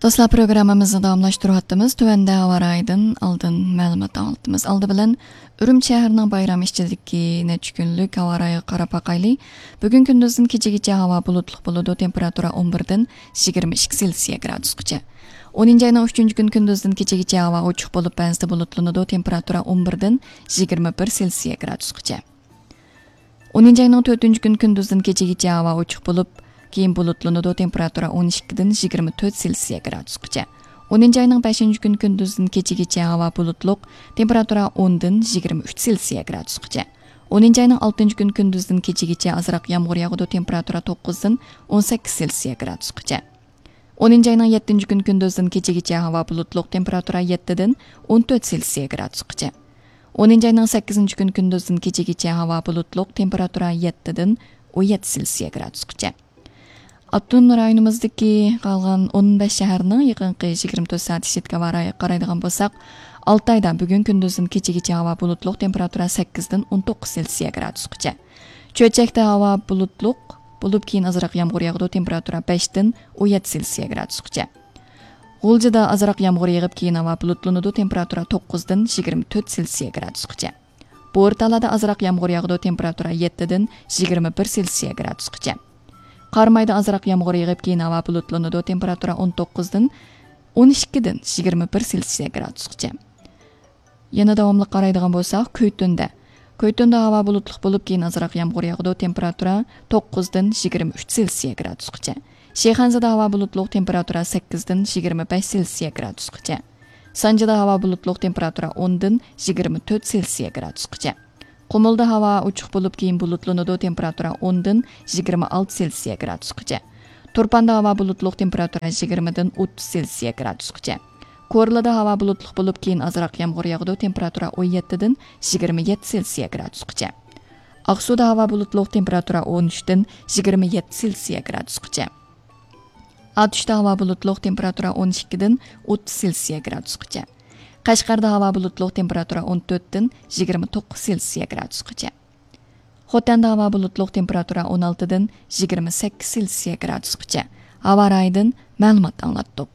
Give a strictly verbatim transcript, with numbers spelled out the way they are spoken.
دوستلار، پروگراممىمىزنى داۋاملاشتۇرۇۋاتىمىز. تۆۋەندە ھاۋا رايىدىن ئالدىن مەلۇمات ئاڭلىتىمىز. ئالدى بىلەن ئۈرۈمچى شەھىرىنىڭ بايرام ئىچىدىكى نەچچە كۈنلۈك ھاۋا رايىغا قاراپ باقايلى. بۈگۈن كۈندۈزدىن كېچىگىچە ھاۋا بۇلۇتلۇق بولىدۇ، تېمپېراتۇرا ئون بىردىن يىگىرمە ئىككى سېلسىيە گرادۇسقىچە. ئونىنچى ئاينىڭ ئۈچىنچى كۈنى كۈندۈزدىن كېچىگىچە ھاۋا ئوچۇق بولۇپ، بەزىدە بۇلۇتلىنىدۇ، تېمپېراتۇرا ئون بىردىن يىگىرمە بىر سېلسىيە گرادۇسقىچە. ئونىنچى ئاينىڭ تۆتىنچى كۈنى كۈندۈزدىن كېچىگىچە ھاۋا ئوچۇق بولۇپ، كېيىن بۇلۇتلىنىدۇ، تېمپېراتۇرا ئون ئىككىدىن يىگىرمە تۆت سېلسىيە گرادۇسقىچە. ئونىنچى ئاينىڭ بەشىنچى كۈنى كۈندۈزدىن كېچىگىچە ھاۋا بۇلۇتلۇق، تېمپېراتۇرا ئوندىن يىگىرمە ئۈچ سېلسىيە گرادۇسقىچە. ئونىنچى ئاينىڭ ئالتىنچى كۈنى كۈندۈزدىن كېچىگىچە ئازراق يامغۇر ياغىدۇ، تېمپېراتۇرا توققۇزدىن ئون سەككىز سېلسىيە گرادۇسقىچە. ئونىنچى ئاينىڭ يەتتىنچى كۈنى كۈندۈزدىن كېچىگىچە ھاۋا بۇلۇتلۇق، تېمپېراتۇرا يەتتىدىن ئون تۆت سېلسىيە گرادۇسقىچە. ئونىنچى ئاينىڭ سەككىزىنچى كۈنى كۈندۈزدىن كېچىگىچە ھاۋا بۇلۇتلۇق، تېمپېراتۇرا يەتتىدىن ئون يەتتە سېلسىيە گرادۇسقىچە. ئاپتونوم رايونىمىزدىكى قالغان ئون بەش شەھەرنىڭ يېقىنقى يىگىرمە تۆت سائەت ئىچىدىكى ھاۋا رايىغا قارايدىغان بولساق، ئالتايدا بۈگۈن كۈندۈزدىن كېچىگىچە ھاۋا بۇلۇتلۇق، تېمپېراتۇرا سەككىزدىن ئون توققۇز سېلسىيە گرادۇسقىچە. چۆچەكتە ھاۋا بۇلۇتلۇق بولۇپ، كېيىن ئازراق يامغۇر ياغىدۇ، تېمپېراتۇرا بەشتىن ئون يەتتە سېلسىيە گرادۇسقىچە. غۇلجىدا ئازراق يامغۇر يېغىپ، كېيىن ھاۋا بۇلۇتلىنىدۇ، تېمپېراتۇرا توققۇزدىن يىگىرمە تۆت سېلسىيە گرادۇسقىچە. بورتالادا ئازراق يامغۇر ياغىدۇ، تېمپېراتۇرا يەتتىدىن يىگىرمە بىر سېلسىيە گرادۇسقىچە. قارامايدا ئازراق يامغۇر يېغىپ، كېيىن ھاۋا بۇلۇتلىنىدۇ، تېمپېراتۇرا ئون توققۇزدىن ئون ئىككىدىن يىگىرمە بىر سېلسىيە گرادۇسقىچە. يەنە داۋاملىق قارايدىغان بولساق، كۈيتۈندە. كۈيتۈندە ھاۋا بۇلۇتلۇق بولۇپ، كېيىن ئازراق يامغۇر ياغىدۇ، تېمپېراتۇرا توققۇزدىن يىگىرمە ئۈچ سېلسىيە گرادۇسقىچە. شىخەنزىدە ھاۋا بۇلۇتلۇق، تېمپېراتۇرا سەككىزدىن يىگىرمە بەش سېلسىيە گرادۇسقىچە. سانجىدا ھاۋا بۇلۇتلۇق، تېمپېراتۇرا ئوندىن يىگىرمە تۆت سېلسىيە گرادۇسقىچە. قۇمۇلدا ھاۋا ئوچۇق بولۇپ، كېيىن بۇلۇتلىنىدۇ، تېمپېراتۇرا ئوندىن يىگىرمە ئالتە سېلسىيە گرادۇسقىچە. تۇرپاندا ھاۋا بۇلۇتلۇق، تېمپېراتۇرا يىگىرمىدىن ئوتتۇز سېلسىيە گرادۇسقىچە. كورلىدا ھاۋا بۇلۇتلۇق بولۇپ، كېيىن ئازراق يامغۇر ياغىدۇ، تېمپېراتۇرا ئون يەتتىدىن يىگىرمە يەتتە سېلسىيە گرادۇسقىچە. ئاقسۇدا ھاۋا بۇلۇتلۇق، تېمپېراتۇرا ئون ئۈچتىن يىگىرمە يەتتە سېلسىيە گرادۇسقىچە. ئاتۇشتا ھاۋا بۇلۇتلۇق، تېمپېراتۇرا ئون ئىككىدىن ئوتتۇز سېلسىيە گرادۇسقىچە. قەشقەردە ھاۋا بۇلۇتلۇق، تېمپېراتۇرا ئون تۆتتىن يىگىرمە توققۇز سېلسىيە گرادۇسقىچە. خوتەندە ھاۋا بۇلۇتلۇق، تېمپېراتۇرا ئون ئالتىدىن يىگىرمە سەككىز سېلسىيە گرادۇسقىچە. ھاۋا رايىدىن مەلۇمات ئاڭلاتتۇق.